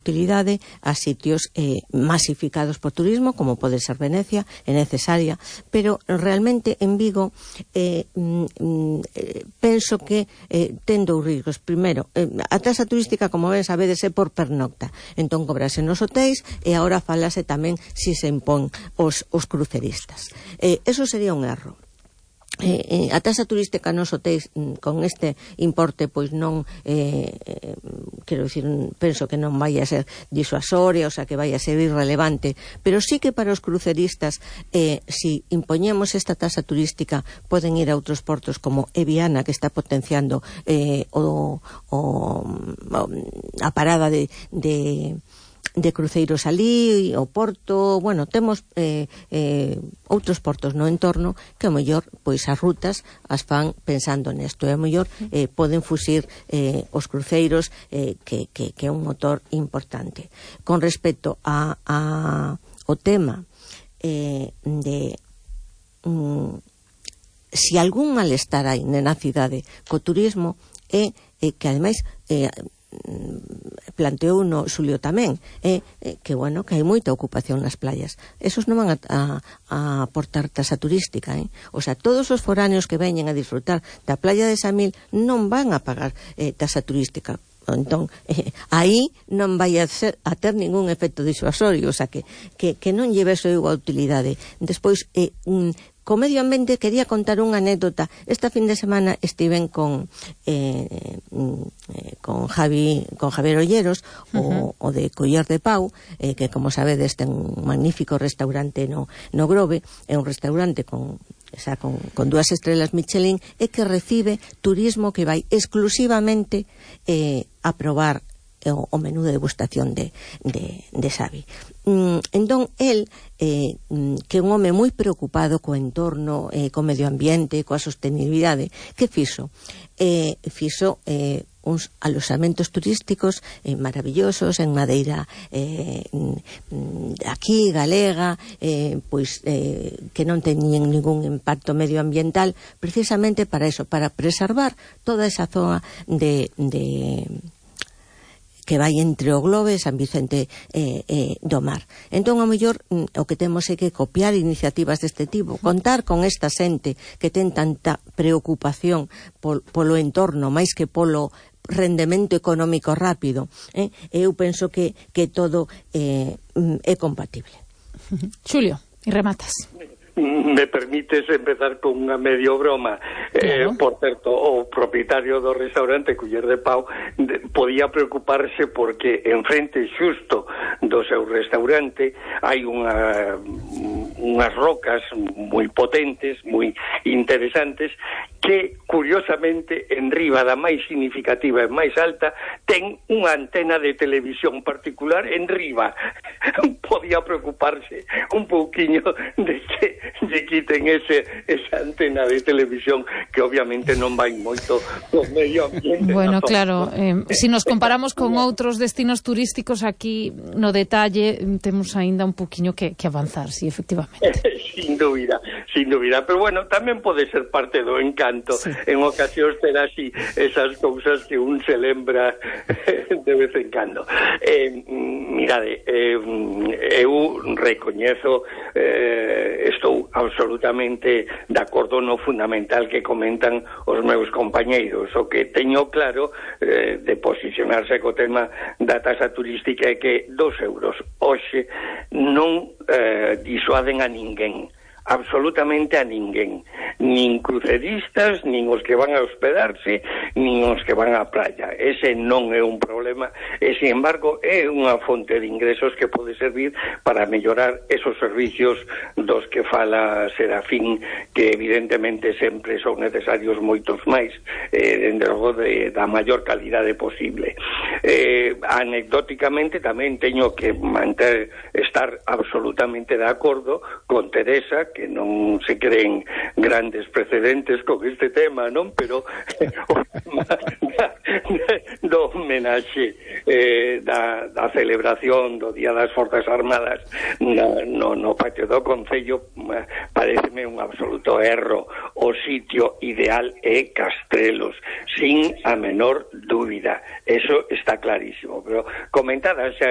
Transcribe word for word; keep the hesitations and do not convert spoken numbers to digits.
utilidade a sitios eh, masificados por turismo, como pode ser Venecia, é necesaria, pero realmente en Vigo eh, mm, eh, penso que eh, ten dous riscos. Primeiro, eh, a taxa turística, como ben sabedes, é por pernocta, entón cobrase nos hotéis e agora falase tamén si se impón os, os cruceristas. Eh, eso sería un erro. Eh, eh, a taxa turística nos hotéis con este importe pois non eh, eh, quero dicir, penso que non vai a ser disuasoria, o sea que vai a ser irrelevante, pero sí que para os cruceristas eh, si impoñemos esta taxa turística poden ir a outros portos como Eviana, que está potenciando eh, o, o, a parada de, de de cruceiros ali, o Porto, bueno, temos eh, eh, outros portos no entorno que, ao mellor, pois as rutas as fan pensando nesto, e ao mellor eh, poden fuxir eh, os cruceiros eh, que, que, que é un motor importante. Con respecto a, a o tema eh, de mm, si algún malestar hai na cidade co turismo é eh, que, ademais, eh, planteou no Xulio tamén eh, eh, que bueno, que hai moita ocupación nas playas, esos non van a, a, a aportar tasa turística eh? O sea, todos os foráneos que veñen a disfrutar da playa de Samil non van a pagar eh, tasa turística, entón eh, aí non vai a, ser, a ter ningún efecto disuasorio, o sea que, que, que non lleve eso igual utilidade. Despois eh, un co medio ambiente quería contar unha anécdota. Esta fin de semana estiven con eh, eh, con Javi con Javier Olleros, uh-huh. o, o de Coller de Pau, eh, que como sabedes ten un magnífico restaurante no, no Grove, é un restaurante con, o sea, con, con dúas estrelas Michelin, e que recibe turismo que vai exclusivamente eh, a probar o, o menú de degustación de, de, de Xavi. Mm, entón, el, eh, que é un home moi preocupado co entorno, eh, co medio ambiente, coa sostenibilidade, que fixo? Eh, fixo eh, uns alosamentos turísticos eh, maravillosos en madeira eh, aquí, galega, eh, pois eh, que non teñen ningún impacto medioambiental, precisamente para eso, para preservar toda esa zona de... de que vai entre o Globe e San Vicente eh, eh, do Mar. Entón, ao mellor, o que temos é que copiar iniciativas deste tipo, contar con esta xente que ten tanta preocupación pol, polo entorno, máis que polo rendemento económico rápido. Eh? Eu penso que, que todo eh, é compatible. Xulio, e rematas. Me permites empezar con unha medio broma. Claro. Eh, por certo, o propietario do restaurante Culler de Pau de, podía preocuparse porque enfrente xusto do seu restaurante hai unha unhas rocas moi potentes, moi interesantes, que curiosamente en riba da máis significativa e máis alta ten unha antena de televisión particular en riba. Podía preocuparse un pouquiño de que lle quiten ese, esa antena de televisión que obviamente non vai moito o medio ambiente. Bueno, claro, eh, si nos comparamos con outros destinos turísticos, aquí no detalle temos aínda un poquinho que, que avanzar, sí, efectivamente. Sin dúbida, sin dúbida, pero bueno, tamén pode ser parte do encanto, sí. En ocasións ter así esas cousas que un se lembra de vez en cando. Eh, mirade, eh, eu recoñezo, eh, estou absolutamente de acordo no fundamental que comentan os meus compañeiros. O que teño claro eh, de posicionarse co tema da tasa turística é que dos euros hoxe non eh, disuaden a ninguén, absolutamente a ninguén, nin cruceristas, nin os que van a hospedarse, nin os que van á playa. Ese non é un problema e, sin embargo, é unha fonte de ingresos que pode servir para mellorar esos servicios dos que fala Serafín, que evidentemente sempre son necesarios moitos máis, eh, dende logo de, da maior calidade posible. Eh, anecdóticamente tamén teño que manter, estar absolutamente de acordo con Teresa, que non se creen grandes precedentes con este tema, non? Pero o tema do homenaxe eh, da, da celebración do Día das Forzas Armadas no, no, no patio do Concello pareceme un absoluto erro. O sitio ideal é Castrelos, sin a menor dúbida, eso está clarísimo. Pero comentada xa